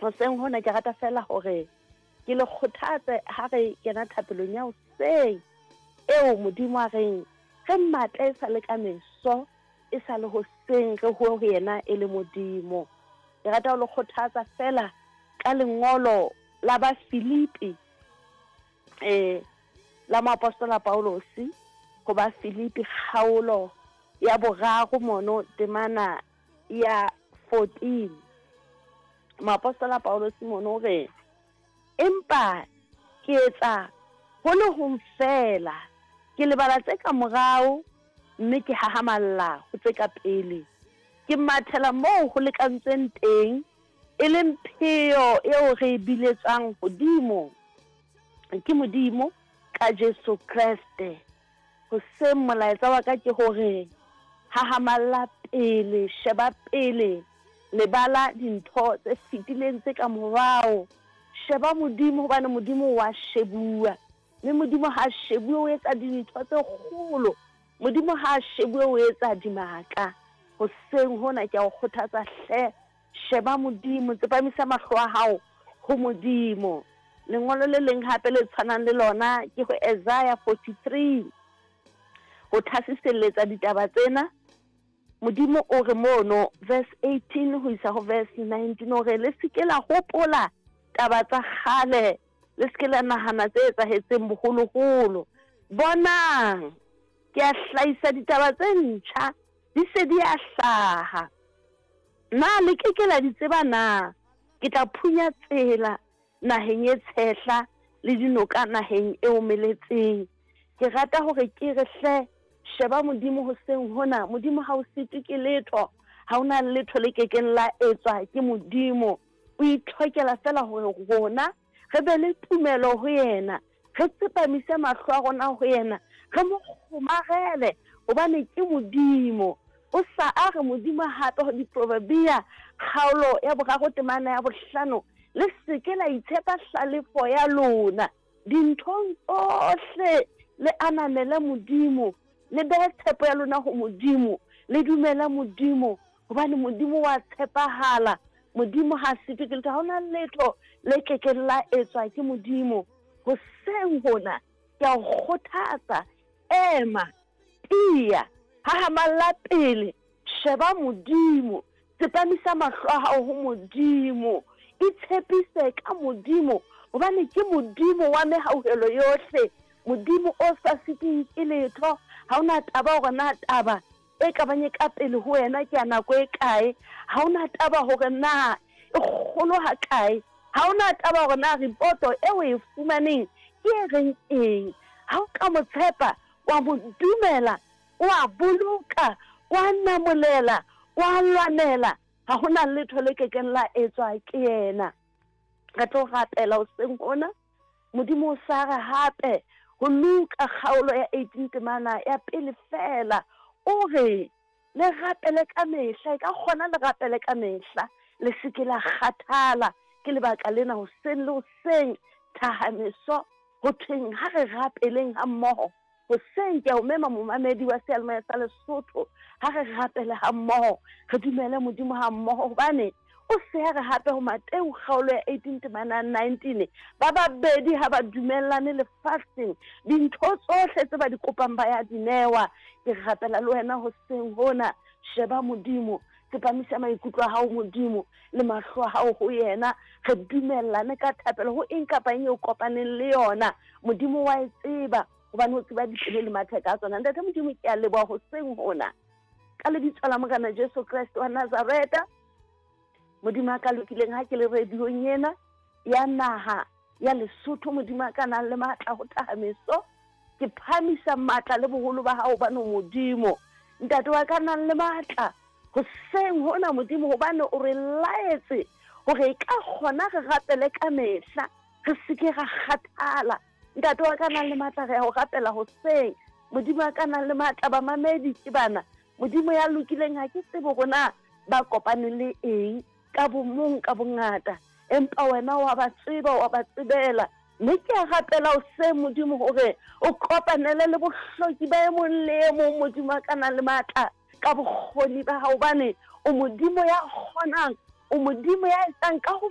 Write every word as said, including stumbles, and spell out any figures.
Hoseng hona ke rata feela hore ke le kgothatse ha re kena thapelong ya hoseng eo Modimo a reng re mmatle e sa le ka meso, e sa le hoseng re hoe ho yena e le Modimo. Ke rata ho le kgothatsa feela ka lengolo la ba Filipi, eh la moapostola Paulosi ho ba Filipi kgaolo ya boraro mono temana ya fourteen. Moapostola Paulosi mono o re, empa ke etsa ho le hong feela, ke lebala tse ka morao mme ke hahamalla ho tse ka pele. Ke mathela moo ho lekantsweng teng, e leng pheo eo re e biletswang hodimo ke Modimo ka Jesu Kreste. Hoseng molaetsa wa ka ke hore hahamalla pele, sheba pele, lebala dintho tse fetileng tse ka morao. Sheba Modimo, hobane Modimo wa shebuwa, mme Modimo ha shebuwe o etsa dintho tse kgolo. Modimo ha shebuwe o etsa dimaka. Hoseng hona ke a o kgothatsa hle, sheba Modimo, tsepamisa mahlo a hao ho Modimo. Lengolo le leng hape le tshwanang le lona ke ho Isaiah forty-three, ho thasiselletsa ditaba tsena. Modimo o re mono verse eighteen ho isa ho verse nineteen, o re le se ke la hopola taba tsa kgale, le se ke la nahana tse etsahetseng boholoholo. Bonang, ke a hlahisa ditaba tse ntjha, di se di a hlaha. Na le ke ke la di tseba na? Ke tla phunya tsela naheng e tshehla le dinoka naheng e omeletseng. Ke rata hore ke re hle, sheba Modimo hoseng hona. Modimo ha o sitwe ke letho, ha hona letho le kekeng la etswa ke Modimo. O itlhokela feela hore rona re be le tumelo ho yena, re tsepamise mahlo a rona ho yena, re mo kgomarele hobane ke Modimo. O sa a re Modimo hape ho Diproverbia kgaolo ya boraro temana ya bohlano, le se ke la itshepa hlalefo ya lona. Dinthong tsohle le ananele Modimo, le behe tshepo ya lona ho Modimo, le dumele Modimo, hobane Modimo wa tshepahala. Modimo ha sitwe ke letho, ha hona letho le kekeng la etswa ke Modimo. Hoseng hona ke a o kgothatsa, ema, tiya, hahamalla pele, sheba Modimo, tsepamisa mahlo a hao ho Modimo, itshepise ka Modimo, hobane ke Modimo wa mehauhelo yohle, Modimo o sa sitweng ke letho. Ha hona taba hore na taba e ka bang e ka pele ho wena ke ya nako e kae, ha hona taba hore na e kgolo ha kae, ha hona taba hore na ripoto e o e fumaneng ke e reng eng. Ha o ka mo tshepa, wa mo dumela, wa boloka, wa namolela, wa lwanela, ha hona letho le kekeng la etswa ke yena. Re tlo rapela hoseng hona. Modimo o sa re hape ho Luka kgaolo ya eighteen temana ya pele feela, o re le rapele ka mehla, e ka kgona le rapele ka mehla, le se ke la kgathala. Ke lebaka lena hoseng le hoseng thahameso ho thweng ha re rapeleng ha mmoho. Hoseng ke a o mema momamedi wa seyalemoya sa Lesotho, ha re rapele ha mmoho, re dumele Modimo ha mmoho, hobane o se a re hape ho Mateu kgaolo ya eighteen temana nineteen, ba babedi ha ba dumellane lefatsheng, dintho tsohle tse ba di kopang ba ya di newa. Ke rapela le wena hoseng hona, sheba Modimo, tsepamisa maikutlo a hao Modimo le mahlo a hao ho yena, re dumellane ka thapelo ho eng kapa eng eo kopaneng le yona. Modimo wa e tseba, hobane o tseba dipelo le matheka a tsona. Ntate Modimo, ke a leboha hoseng hona ka lebitso la Morena Jesu Kreste wa Nazareta. Modimo a ka lokileng, ha ke le radiong ena ya naha ya Lesotho, Modimo a ka nang le matla ho thahameso, ke phahamisa matla le boholo ba hao hobane Modimo ntate wa ka nang le matla hoseng hona Modimo, hobane o re laetse hore e ka kgona re rapele ka mehla, re se ke ra kgathala. Ntate wa ka nang le matla, re ya ho rapela hoseng. Modimo a ka nang le matla, bamamedi ke bana. Modimo ya lokileng, ha ke tsebe hore na ba kopane le eng ka bomong ka bongata, empa wena wa ba tseba, wa ba tsebela. Mme ke a rapela hoseng Modimo hore o kopanele le bohloki ba e mong le e mong, Modimo a ka nang le matla ka bokgoni ba hao, hobane o Modimo ya kgonang, o Modimo ya etsang ka ho